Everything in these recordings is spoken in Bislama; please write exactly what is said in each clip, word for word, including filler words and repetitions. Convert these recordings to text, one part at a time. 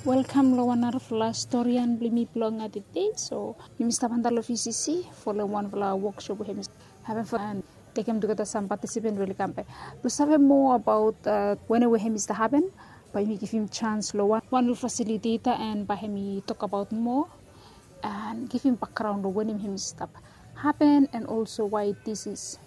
Welkam long wan narafala storian blong yumi blong tede. So yumi stap antap long V C C folem wanfala woksop we hem i hapen fo an tekem tugeta sam patisipant we oli kam bek blong save moa abaot wanem we hem i stap hapen. Bae yumi givim sans long wan ol fasiliteta an bae hem i tokbaot moa an givim bakgraon long wanem hem i stap hapen an olso wae dis is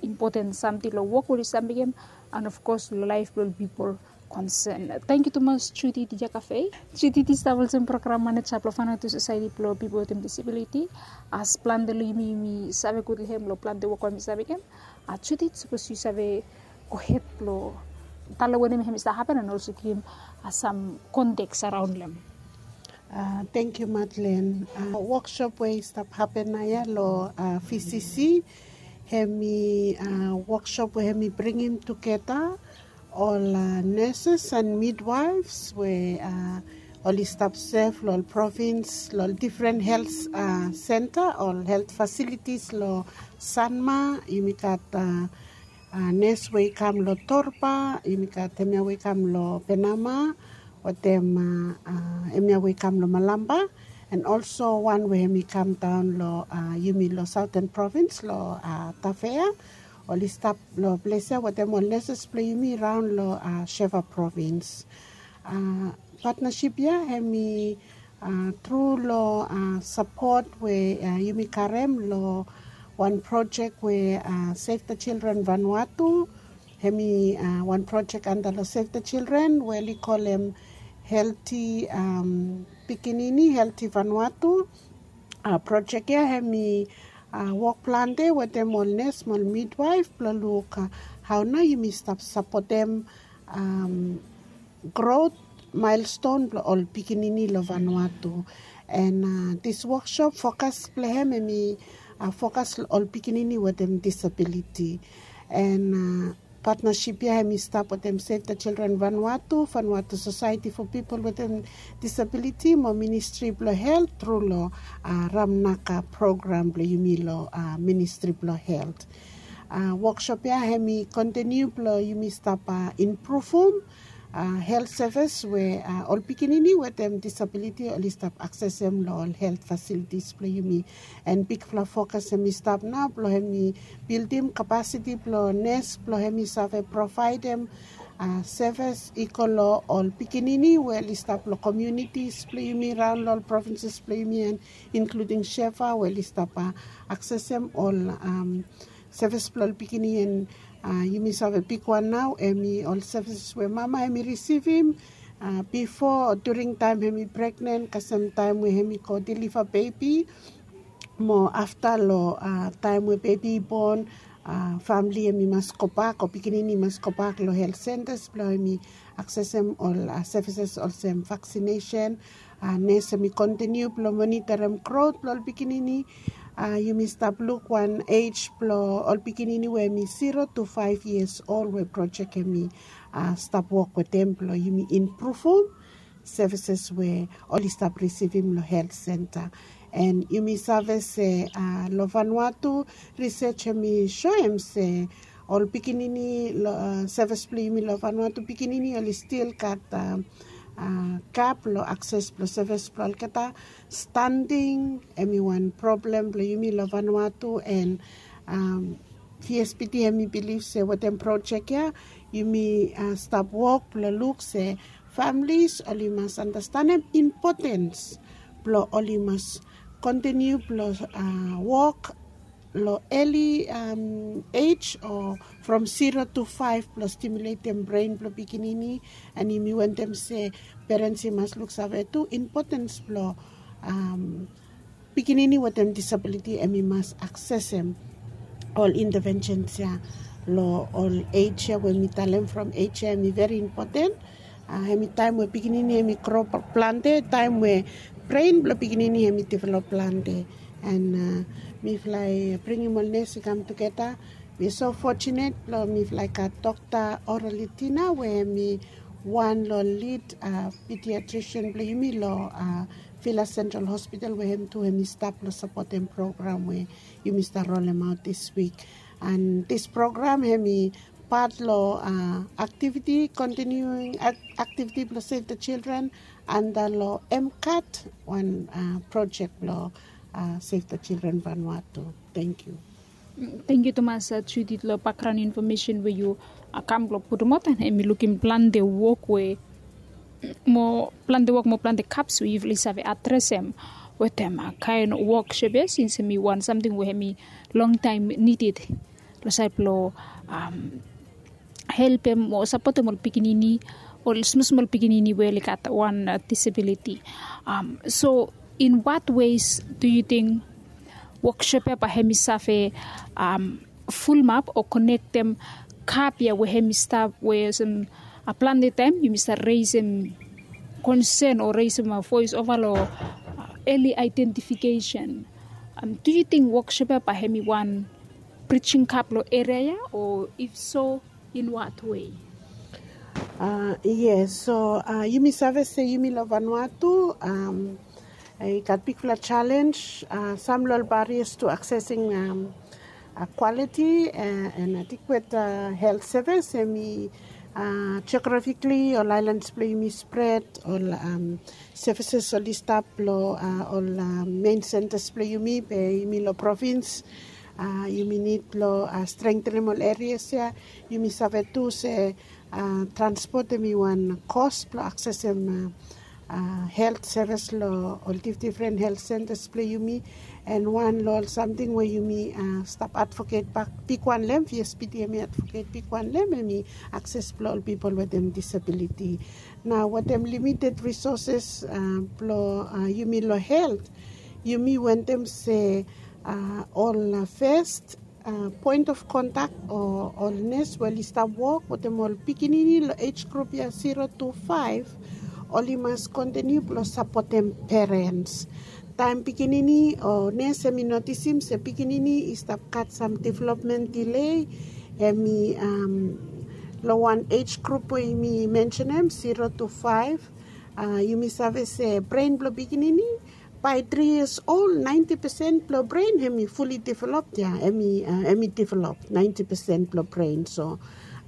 impoten samting long wok we oli stap mekem an ofkos long laef blong ol pipol konsen. Tangkiu tumas Judith Jakafe. Judith i stap olsem program maneja blong Vanuatu Sosaeti blong Pipol wetem Disabiliti. As plante long yumi yumi save gud long hem long plante wok we hem i stap mekem. Judith, sapos yu save gohed blong talem wanem hem i stap hapen an olso givim sam konteks araon long hem. Tangkiu Madlen. Woksop we i stap hapen naoia long V C C hem i woksop we hem i bringim tugeta ol neses an midwaefs we oli stap sef long ol provins long ol difren helt senta, ol helt fasilitis long Sanma. Yumi gat nes we i kam long Torba, yumi gat hemia we i kam long Penama, wetem hemia we i kam long Malamba, an olso wan we hem i kam daon long yumi long Saoten Provins long Tafea. Oli stap long ples ya wetem ol neses blong yumi raon long Sheva Provins. Patnasip ya hem i tru long sapot we yumi karem long wan projek we Save the Children Vanuatu. Hem i wan projek antap long Save the Children we oli kolem Helti Pikinini, Helti Vanuatu. Projek ya hem i wok plante wetem ol nes mo ol midwaef blong luk hao nao yumi stap sapotem grot maelston blong ol pikinini long Vanuatu. An dis woksop fokas blong hem hem i fokas long ol pikinini wetem disabiliti. An patnasip ya hem i stap wetem Save the Children Vanuatu, Vanuatu Sosaeti fo Pipol wetem Disabiliti mo Ministri blong Helt tru long Ramnaka program blong yumi long Ministri blong Helt. Woksop ya hem i kontiniu blong yumi stap impruvum helt sevis we ol pikinini wetem disabiliti oli stap aksesem long ol helt fasilitis blong yumi. An bigfala fokas hem i stap nao blong hem i bildim kapasiti blong nes blong hem i save provaedem sevis i go long ol pikinini we oli stap long komiunitis blong yumi raon long ol provinses blong yumi an inkluding Sheva we oli stap aksesem ol sevis blong ol pikinini. An yumi save bigwan nao hem i ol sevis we mama hem i risivim bifo o during taem hem i pregnen, kasem taem we hem i go deliva bebi, mo afta long taem we bebi i bon, famili hem i mas gobak o pikinini i mas gobak long helt sentas blong hem i aksesem ol sevises olsem vaksinesen. Nes hem i kontiniu blong monitorim grot blong ol pikinini. Yumi stap luk wan ej blong ol pikinini we hem i zero tu faef yias ol we projek hem i stap wok wetem blong yumi impruvum sevises we oli stap risivim long helt senta. An yumi save se long Vanuatu, risej hem i soem se ol pikinini long sevis blong yumi long Vanuatu, pikinini oli stil gat gap long akses blong sevis blong olgeta. Standing hem i wan problem blong yumi long Vanuatu, an V S P D hem i bilif se wetem projek ya yumi stap wok blong luk se familis oli mas andastanem impotens blong oli mas kontiniu blong wok long eli ej o from zero tu faef blong stimuletem bren blong pikinini. An yumi wantem se perens i mas luksave tu impotens blong pikinini wetem disabiliti hem i mas aksesem ol intevensens ya long ol ej ya we mi talem from ej ya hem i veri impoten. Hem i taem we pikinini hem i gro plante, taem we bren blong pikinini hem i develop plante. An mifala i bringim ol nes i kam tugeta. Mi so fojunet blong mifala i gat Dokta Oralitina we hem i wan long lid pediatrisian blong yumi long Vila Central Hospital we hem tu hem i stap long sapotem program we yumi stap rolemaot dis wik. An dis program hem i pat long aktiviti, kontiniuing aktiviti blong Save the Children anda long MCAT, wan projek blong Save the Children Vanuatu. Thank you. Thank you tumas Judith long background information we yu kam blong putumaot, and hemi lukim plante wok we mo plante wok mo plante kaps we yufala i save adresem wetem kain wok Shepe, since hemi wan samting we hemi long taim nided long sait blong helpem o sapotem ol pikinini, ol smosmol pikinini we oli gat wan disabiliti. So in what ways do you think wok Shepe bae hemi save fulumap o konektem gap ya we hemi stap we olsem plante taim yumi save resem konsen o resem voes ova long early identification? Do you think wok Shepe bae hemi wan bridging gap long eria ya, o if so, in what way? Yes, so yumi save se yumi long Vanuatu i gat bigfala challenge. Sam long ol barriers to accessing quality and adequate health service hemi geographically ol ailans blong yumi spread, ol services oli stap long ol main centers blong yumi be yumi long provins. Yumi nid blong strengthenem ol areas ya. Yumi save tu se transport hemi wan kos blong aksesem health service long ol difdifren health centers blong yumi. And wan long ol samting we yumi stap advocate bak bigwan long hem, VSPD hemi advocate bigwan long hem, hemi akses blong ol pipol wetem disabiliti. Nao wetem limited resources blong yumi long health, yumi wantem se ol fes poen of kontak o ol nes we oli stap wok wetem ol pikinini long age grup ya zero to five, oli mas kontiniu blong sapotem perens. Taem pikinini o nes hemi notisim se pikinini i stap gat sam development delay, hemi long wan age grup we yumi mensenem zero to five, yumi save se bren blong pikinini bae tri yias ol, naenti pesen blong bren hemi fuli develop ya, hemi develop naenti pesen blong bren. So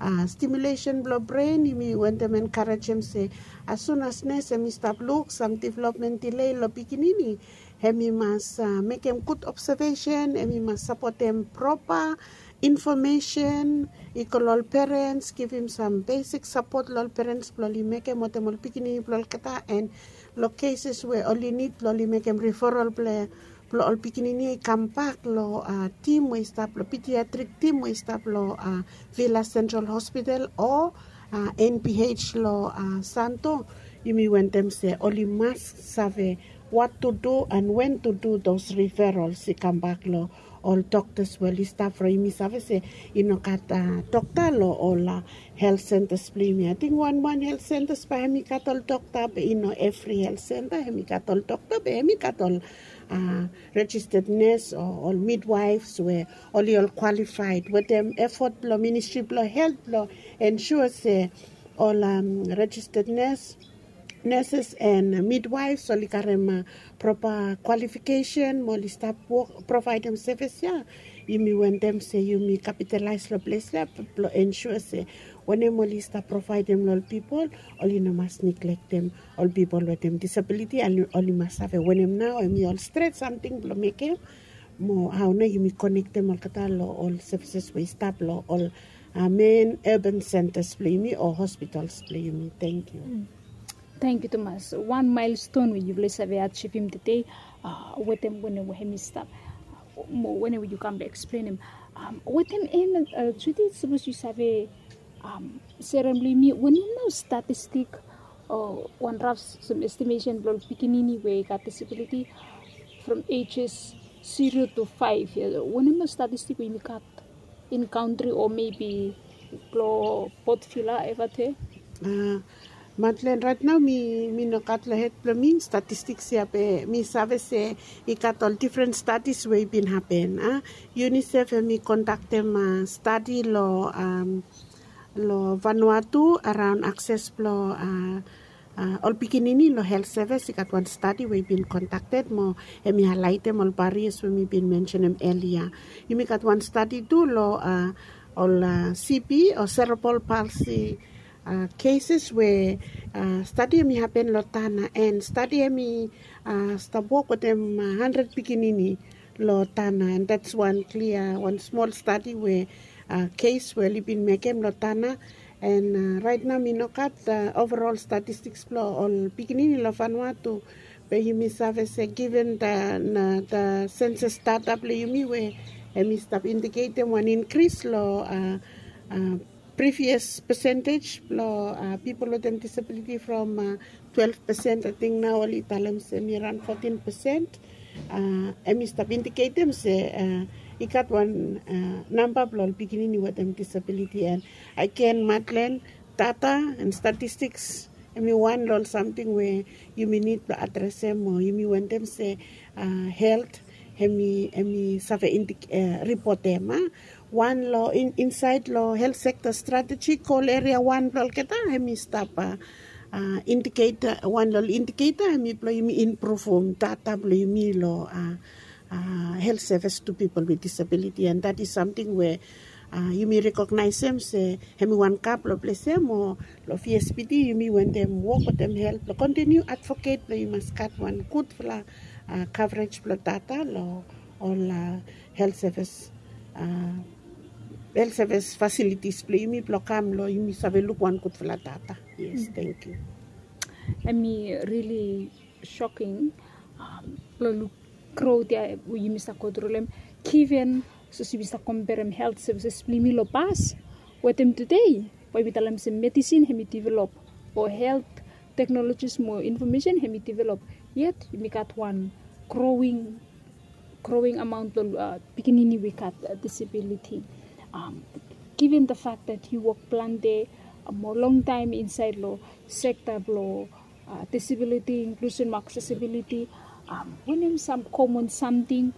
stimulesen blong bren yumi wantem enkarejem se as sun as nes hemi stap luk sam development delay long pikinini, hemi mas mekem gud obsevesen, hemi mas sapotem propa infomesen i go long ol perens, givim sam besik sapot long ol perens blong oli mekem wetem ol pikinini blong olgeta. And long keses we oli nid blong oli mekem riferal blong ol pikinini i kambak long tim we i stap long pediatrik tim we i stap long Vila Central Hospital o NPH long Santo, yumi wantem se oli mas save what to do and when to do those referrals i kambak long ol doktas we oli stap. From yumi save se i no gat dokta long ol health centers blong yumi. Ating wanwan health centers bae hemi gat ol dokta be i no evri health center hemi gat ol dokta be hemi gat ol registered nurse o ol midwives we oli ol qualified. Wetem effort blong Ministry blong Health blong ensure se ol registered nurse, nurses and midwives oli karem propa qualification mo oli stap wok provaedem sevis ya. Yumi wantem se yumi kapitalaes long ples ya blong ensure se wanem oli stap provaedem long ol pipol, oli no mas niglektem ol pipol wetem disabiliti. Oli mas save wanem nao hemi ol stret samting blong mekem mo hao nao yumi konektem olgeta long ol sevises we i stap long ol men urban centers blong yumi o hospitals blong yumi. Tangkiu. Tangkiu tumas. Wan milestone we yufala i save ajivim tede wetem wanem we hemi stap mo wanem we yu kam blong eksplenem wetem em. Judith, sapos yu save serem blong yumi, wanem nao statistik o wan raf sam estimesen blong ol pikinini we i gat disabiliti from ages zero to five ya, wanem nao statistik we yumi gat in kantri o mebi blong Port Vila, Evate? Madlen, raet nao mi no gat long hed blong mi statistiks ya be mi save se i gat ol difren stadis we i bin hapen. UNICEF hemi kondaktem stadi long Vanuatu araon akses blong ol pikinini long health sevis. I gat wan stadi we i bin kondakted mo hemi haelaetem ol barias we mi bin mensenem elia. Yumi gat wan stadi tu long Ol CP o cerebral palsy cases we stadi em i hapen long Tanna, and stadi em i stap wok wetem handred pikinini long Tanna, and that's wan klia, wan smol stadi we kes we oli bin mekem long Tanna. And rait nao mi no gat overall statistiks blong ol pikinini long Vanuatu. Be yumi save se given the sensus data blong yumi we em i stap indiketem wan inkris long previous percentage blong pipol wetem disabiliti from twelve percent, ating nao oli talem se em i around fourteen percent. Em i stap indiketem se i gat wan namba blong ol pikinini wetem disabiliti. And agen, Madeleine, data and statistiks em i wan long ol samting we yumi nid blong adresem, o yumi wantem se helt em i save ripotem. Wan long insaed long helt sekta strateji, gol eria wan blong olgeta em i stap indiketa, wan long indiketa em i blong yumi impruvum data blong yumi long helt sevis tu pipol with disabiliti, and that is samting we yumi rekognaesem se em i wan gap long ples ya, mo long VSPD yumi wantem wok wetem helt blong kontiniu advoket blong yu mas gat wan gudfala kavrej blong data long ol helt sevis, helt sevis fasilitis blong yumi blong kam long yumi save luk wan gudfala data. Yes, thank you. Em i rili soking blong luk grot ya we yumi stap go tru long em, given sapos yumi stap komperem helt sevises blong yumi long pas wetem tude, bae yumi talem se medisin em i develop, o helt teknolojis mo infomesen em i develop, yet yumi gat wan growing growing amaon blong pikinini we gat disabiliti. Given the fact that yu wok plante mo longtaem insaed long sekta blong disabiliti, inklusen mo aksesibiliti, wanem sam komon samting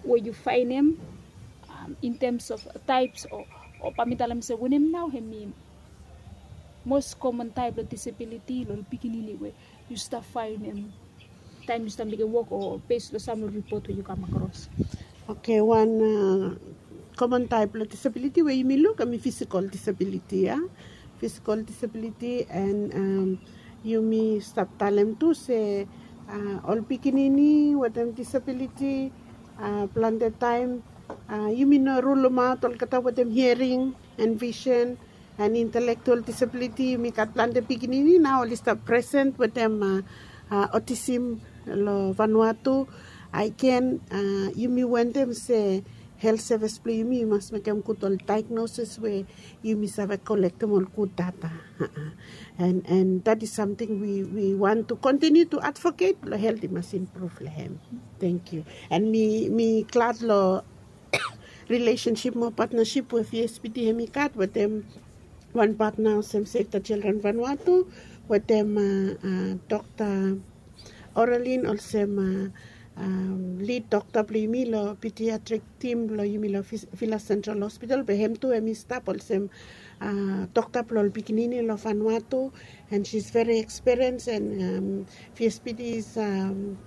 we yu faenem in tems of taeps, o bae mi talem se wanem nao em i mos komon taep blong disabiliti long ol pikinini we yu stap faenem taem yu stap mekem wok, o bes long sam long ripot we yu kam akros? Oke, wan komon taep blong disabiliti we yumi luk em i fisikol disabiliti ya. Fisikol disabiliti, and yumi stap talem tu se ol pikinini wetem disabiliti plante taem yumi no rulemaot olgeta wetem hiaring and visen and intelektual disabiliti. Yumi gat plante pikinini nao oli stap presen wetem otisim long Vanuatu. Agen, yumi wantem se helt sevis blong yumi i mas mekem gud ol daegnosis we yumi save kolektem ol gud data. And that is samting we want to continue to advocate blong helt i mas impruv long em. Thank you. And mi glad long rilesensip mo patnasip we VSPD em i gat wetem wan patna olsem Save the Children Vanuatu, wetem Dokta Oralin olsem lid dokta blong yumi long pediatrik tim blong yumi long Vila Central Hospital, be hem tu hem i stap olsem dokta blong ol pikinini long Vanuatu, and she's very experienced, and VSPD is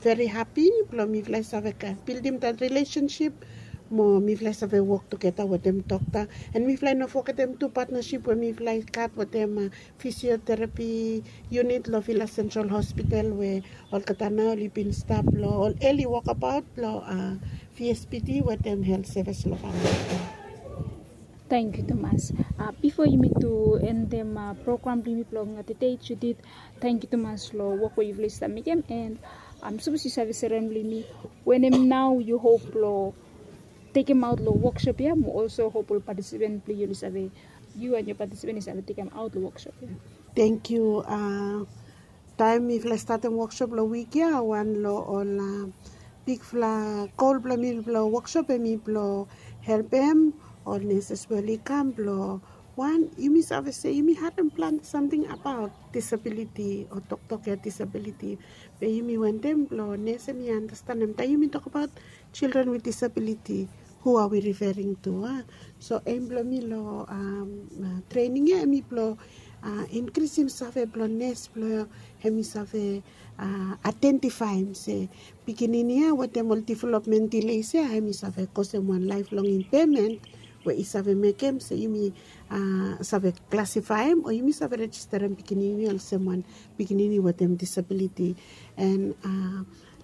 very happy blong mifala i save bildim that relationship mo mifala i save wok tugeta wetem dokta. And mifala i no fogetem tu patnasip we mifala i gat wetem fisioterapi unit long Vila Central Hospital we olgeta nao oli bin stap long ol eli wokabaot blong VSPD wetem helt sevis long famili. Tangkiu tumas. Bifo yumi tu endem program blong yumi blong tede, Judith, tangkiu tumas long wok we yufala i stap mekem, and sapos yu save serem long yumi, wanem nao yu hop blong tekemaot long woksop ya, mo olso hop ol patisipen blong yu oli save, yu and your participant i save tekemaot long woksop ya? Tangkiu. Taem mifala i statem woksop long wik ya, wan long ol bigfala gol blong mi blong woksop em i blong helpem ol neses we oli kam blong, wan, yumi save se yumi harem plante samting abaot disabiliti o toktok ya disabiliti. Be yumi wantem blong nes hem i andastanem taem yumi tokbaot children with disability, who are we referring to, a? So em blong mi long trening ya em i blong inkrisim save blong nes blong hem i save aedentifaem se pikinini ya wetem ol developmen dileis ya hem i save kosem wan laeflong impaemen we i save mekem se yumi save klasifaem o yumi save rejisterem pikinini olsem wan pikinini wetem disabiliti. En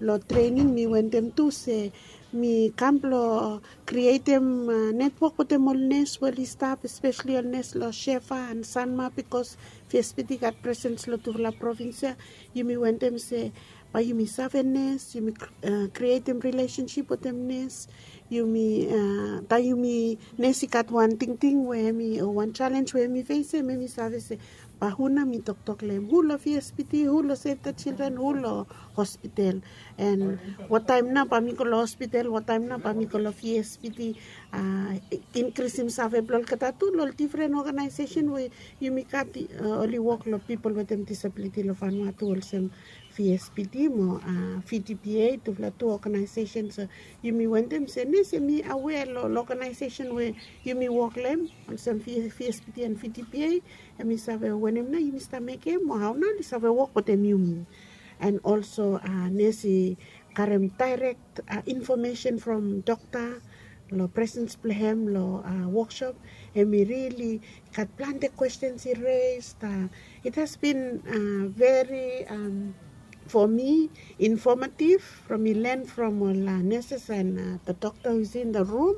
long trening mi wentem tu se mi kam blong krietem netwok wetem ol nes we oli stap, espeseli ol nes long Shefa and Sanma, bikos VSPT i gat presens long tufala provins ya. Yumi wentem se bae yumi save nes, yumi krietem rilesensip wetem nes. Yumi taem yumi nes i gat wan tingting we hemi o wan jalenj we hemi fesem, hemi save se bae hu nao mi toktok long hem, hu long VSPT, hu long Save the Children, hu long hospital. En wataem nao bae mi go long hospital, wataem nao bae mi go long VSPT. Inkrisim save blong olgeta tu long ol difren oganaesesen we yumi gat, oli wok long pipol wetem disabiliti long Vanuatu olsem VSPT mo VTPA, tufala tu oganaesesen. So yumi wentem se nes hemi awea long oganaesesen we yumi wok long hem olsem VSPT and VTPA, hemi save wanem nao yumi stap mekem o hao nao oli save wok wetem yumi. En olso nes i karem daerek infomesen from dokta long presens blong hem long woksop. Hemi rili gat plante kwestens i res. It has been very, for me, informative from mi len from ol nurses and the doctor who's in the room,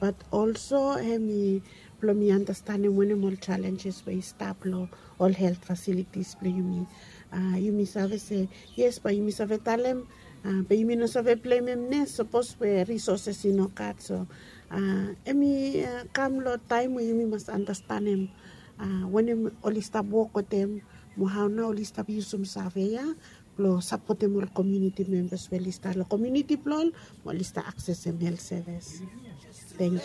but also hemi blong mi andastanem wanem ol jalenjes we i stap long ol helt fasilitis blong yumi. Yumi save se yes, bae yumi save talem, be yumi no save blemem nes sapos we risoses i no gat. So hemi kam long taem we yumi mas andastanem wanem oli stap wok wetem mo hao nao oli stap yusum save ya blong sapotem ol komuniti membas we oli stap long komuniti blong ol mo oli stap aksesem helt sevis. Tangkiu.